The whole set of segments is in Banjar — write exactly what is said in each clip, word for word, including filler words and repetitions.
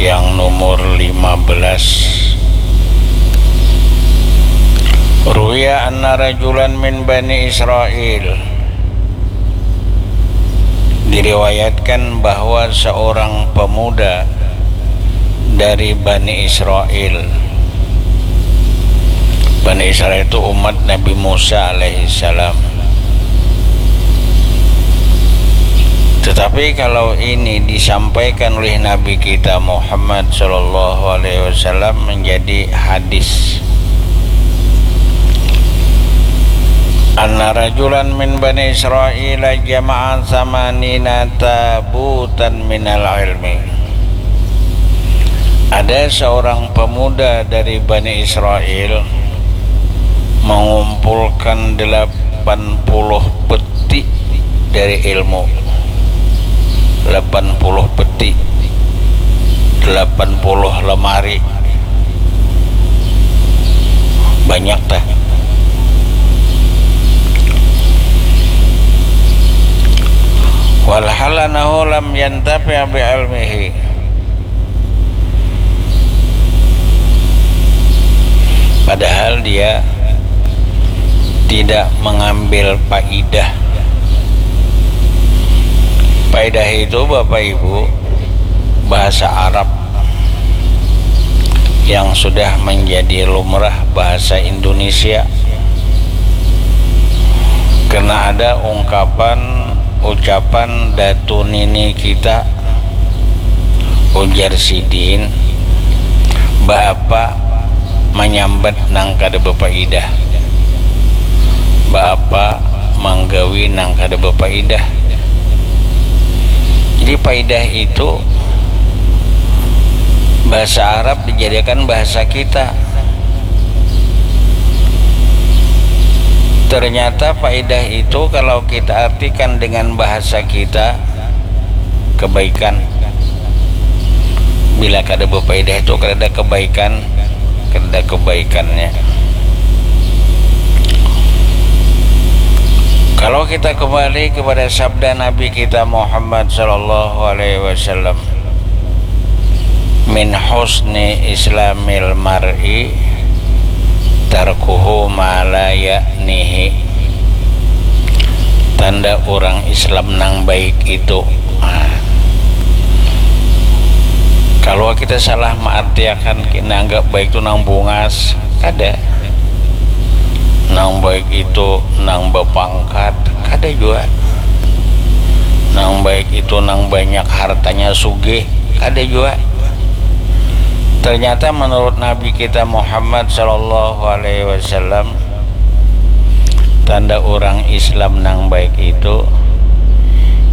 yang nomor lima belas. Ruwiya anna rajulan min Bani Israil. Diriwayatkan bahwa seorang pemuda dari Bani Israil. Bani Israil itu umat Nabi Musa alaihissalam. Tetapi kalau ini disampaikan oleh Nabi kita Muhammad sallallahu alaihi wasallam menjadi hadis. Anna rajulan min Bani Israil jama'a samanina tabutan minal ilmi. Ada seorang pemuda dari Bani Israel mengumpulkan delapan puluh peti dari ilmu. Delapan puluh peti, delapan puluh lemari. Banyak tah. Walhal anahu lam yantafi' bi ilmihi. Padahal dia tidak mengambil faidah. Faidah itu, Bapak Ibu, bahasa Arab yang sudah menjadi lumrah bahasa Indonesia. Karena ada ungkapan, ucapan datu nini kita, ujar sidin, baapa manyambat nang kada bapaidah, baapa manggawi nang kada bapaidah. Jadi paidah itu bahasa Arab dijadikan bahasa kita. Ternyata faidah itu kalau kita artikan dengan bahasa kita, kebaikan. Bila kada bapaidah itu kada ada kebaikan, kada ada kebaikannya. Kalau kita kembali kepada sabda Nabi kita Muhammad sallallahu alaihi wasallam, min husni islamil mar'i tarkuhu ma la ya'nihi. Tanda orang Islam nang baik itu, nah, kalau kita salah mengartiakan, kita anggap baik itu nang bungas, kada. Nang baik itu nang bapangkat, kada jua. Nang baik itu nang banyak hartanya, sugih, kada jua. Ternyata menurut Nabi kita Muhammad sallallahu alaihi wasallam, tanda orang Islam nang baik itu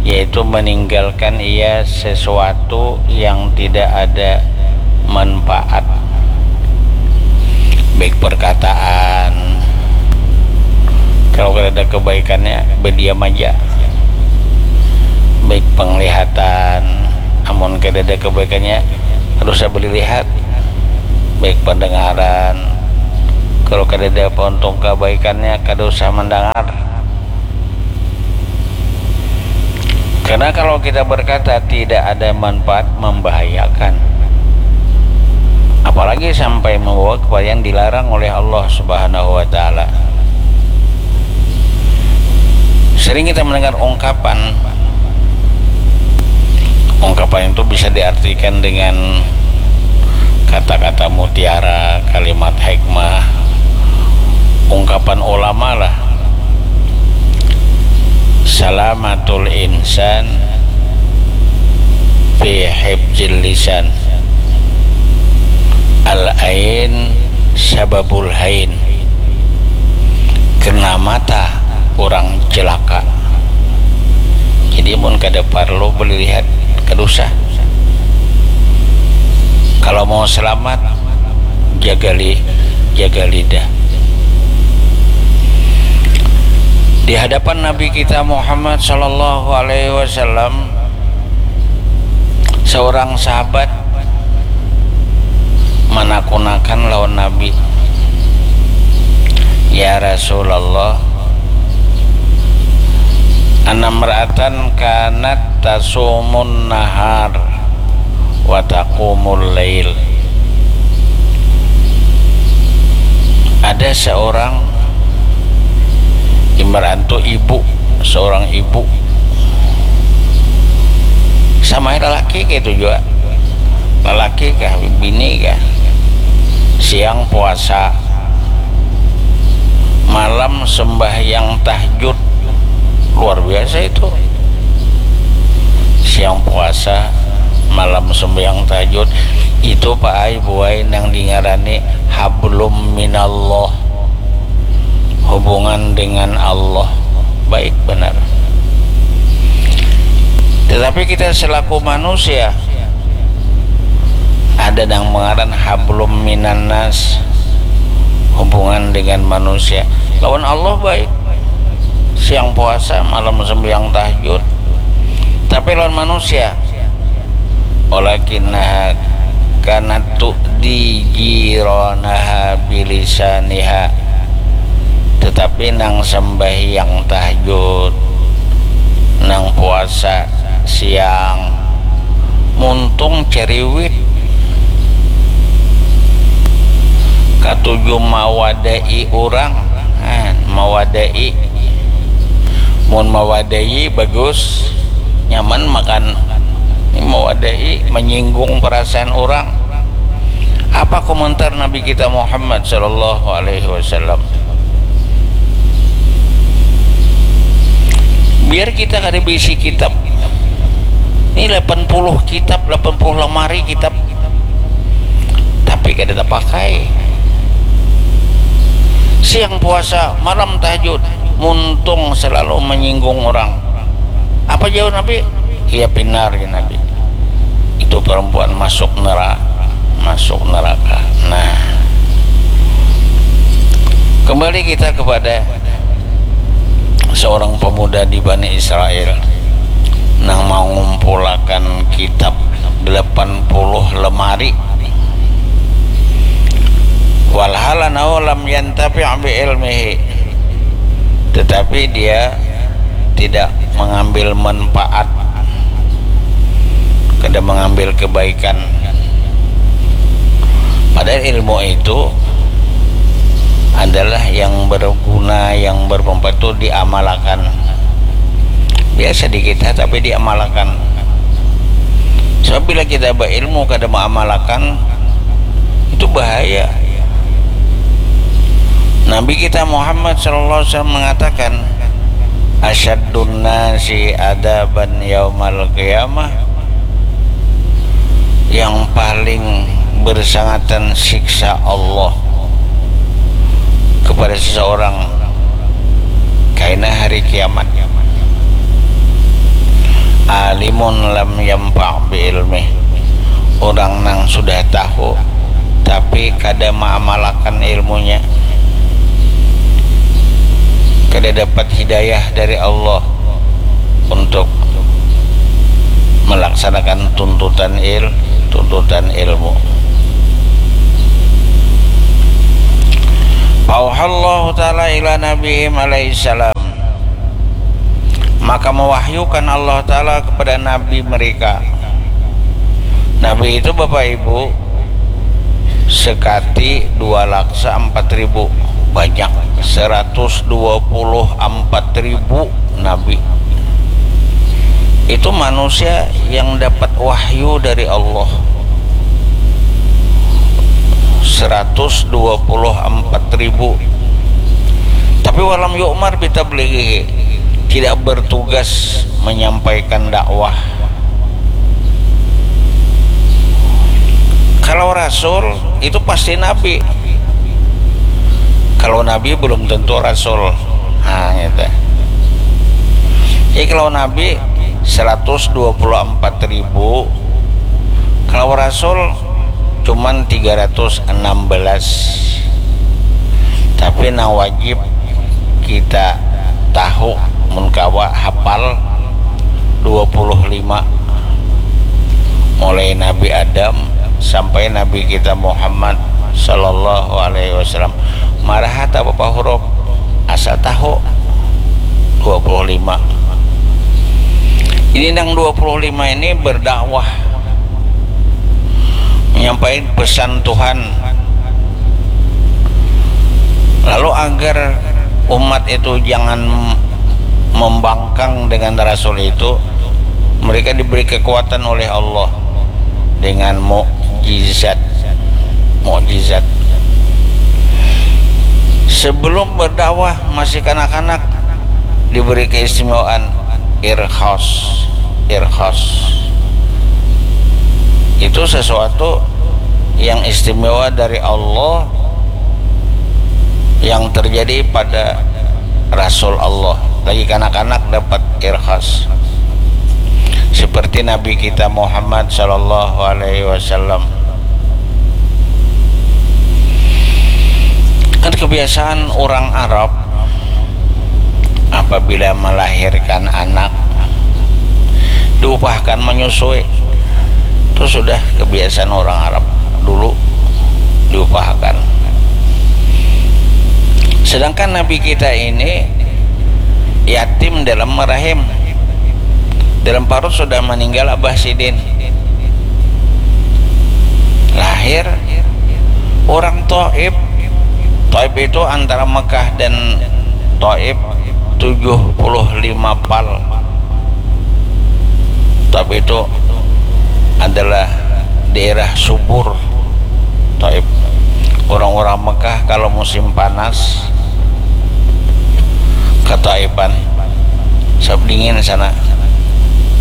yaitu meninggalkan ia sesuatu yang tidak ada manfaat, baik perkataan, kalau kada ada kebaikannya, berdiam aja, baik penglihatan, amun kada ada kebaikannya, kada usah balilihat, baik pendengaran, kalau kada ada apa untung kebaikannya, kada usah mendengar. Karena kalau kita berkata tidak ada manfaat, membahayakan. Apalagi sampai membawa kepada yang dilarang oleh Allah Subhanahu wa Ta'ala. Sering kita mendengar ungkapan, ungkapan itu bisa diartikan dengan kata-kata mutiara, kalimat hikmah, ungkapan ulama lah. Salamatul insan fi hifzil lisan. Al ain sababul hain. Kena mata orang celaka. Jadi mun kada parlu balilihat, kada usah. Kalau mau selamat, jaga li, jaga lidah. Di hadapan Nabi kita Muhammad sallallahu alaihi wasallam, seorang sahabat manakunakan lawan Nabi, "Ya Rasulullah, anamra'atan kanat tasumun nahar wa taqumul lail. Ada seorang, ibarat tu ibu, seorang ibu, sama lalaki kaitu jua, lalaki kah, bini kah, siang puasa, malam sembahyang tahajud. Luar biasa itu. Siang puasa, malam sembahyang tahajud. Itu, Pak ai, Bu ai, nang dingarani hablum minallah, hubungan dengan Allah. Baik banar. Tetapi kita selaku manusia, ada nang mengaran hablum minannas, hubungan dengan manusia. Lawan Allah baik, siang puasa, malam sembahyang tahajud. Tapi lawan manusia, walakinnaha kanat tu'di jiranaha bilisaniha. Tetapi nang sembahyang tahajud, nang puasa siang, muntung ceriwit, katuju mawadai urang. Nah, mawadai. Mun mawadai bagus, nyaman makan. Ini mawadai, menyinggung perasaan orang. Apa komentar Nabi kita Muhammad sallallahu alaihi wasallam? Biar kita kada berisi kitab. Ini delapan puluh kitab, delapan puluh lemari kitab. Tapi kada tapakai. Siang puasa, malam tahajud, muntung selalu menyinggung orang. Apa jawab Nabi? Iya, pinar, ya Nabi. Itu perempuan masuk neraka, masuk neraka. Nah, kembali kita kepada seorang pemuda di Bani Israel nang mangumpulakan kitab delapan puluh lemari. Walhal annahu lam yantafi' bi ilmihi, tetapi dia tidak mengambil manfaat, kada mengambil kebaikan. Padahal ilmu itu adalah yang berguna, yang bermanfaat itu diamalakan. Biasa di kita, tapi diamalakan. Sebab bila kita berilmu kada mengamalkan, itu bahaya. Nabi kita Muhammad sallallahu alaihi wasallam mengatakan, "Asyaddun nasi adaban yaumal qiyamah," yang paling bersangatan siksa Allah kepada seseorang kaina hari kiamat, alimun lam yanfa' bi ilmih, orang nang sudah tahu tapi kada maamalakan ilmunya, kada dapat hidayah dari Allah untuk melaksanakan tuntutan il tuntutan ilmu. Fauhallahu ta'ala ila nabihim alaihi salam, maka mewahyukan Allah Ta'ala kepada Nabi mereka. Nabi itu, Bapak Ibu, sekati dua laksa empat ribu, banyak, seratus dua puluh empat ribu nabi. Itu manusia yang dapat wahyu dari Allah, seratus dua puluh empat ribu. Tapi walam yu'mar bitablighihi, tidak bertugas menyampaikan dakwah. Kalau rasul itu pasti nabi. Kalau nabi belum tentu rasul. Nah, gitu. Jadi kalau nabi seratus dua puluh empat ribu, kalau rasul cuman tiga ratus enam belas. Tapi nang wajib kita tahu, mun kawa hafal, dua puluh lima. Mulai Nabi Adam sampai Nabi kita Muhammad sallallahu alaihi wasallam. Maraha tak apa huruf, asal tahu, dua puluh lima. Ini nang dua puluh lima ini berdakwah menyampaikan pesan Tuhan. Lalu agar umat itu jangan membangkang dengan Rasul itu, mereka diberi kekuatan oleh Allah dengan mukjizat. Mukjizat. Sebelum berdakwah, masih kanak-kanak, diberi keistimewaan irhas. Irhas itu sesuatu yang istimewa dari Allah yang terjadi pada Rasul Allah. Lagi kanak-kanak dapat irhas seperti Nabi kita Muhammad sallallahu alaihi wasallam. Kan kebiasaan orang Arab, apabila melahirkan anak, diupahkan menyusui. Itu sudah kebiasaan orang Arab dulu, diupahkan. Sedangkan Nabi kita ini yatim dalam rahim, dalam parut sudah meninggal abah sidin. Lahir orang Taif. Taif itu antara Mekah dan Taif tujuh puluh lima pal. Taif itu adalah daerah subur. Taif. Orang-orang Mekah kalau musim panas ke Taifan, sebab dingin sana.